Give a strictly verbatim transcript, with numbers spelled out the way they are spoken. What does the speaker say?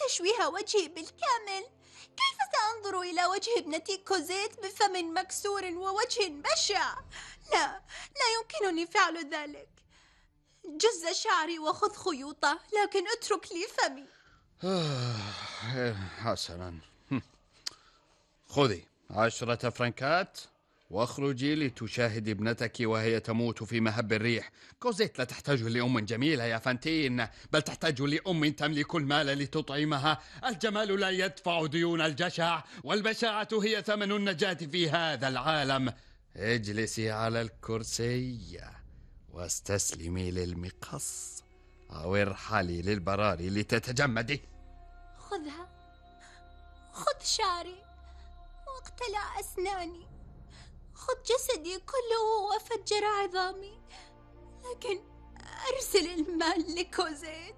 تشويه وجهي بالكامل. كيف سأنظر إلى وجه ابنتي كوزيت بفم مكسور ووجه بشع؟ لا، لا يمكنني فعل ذلك. جز شعري وخذ خيوطه، لكن اترك لي فمي. حسنا، خذي عشرة فرنكات واخرجي لتشاهدي ابنتك وهي تموت في مهب الريح. كوزيت لا تحتاج لأم جميلة يا فانتين، بل تحتاج لأم تملك المال لتطعمها. الجمال لا يدفع ديون الجشع، والبشاعة هي ثمن النجاة في هذا العالم. اجلسي على الكرسي واستسلمي للمقص، أو ارحلي للبراري لتتجمدي. خذها، خذ شعري واقتلع أسناني، خذ جسدي كله وفجر عظامي، لكن أرسل المال لكوزيت.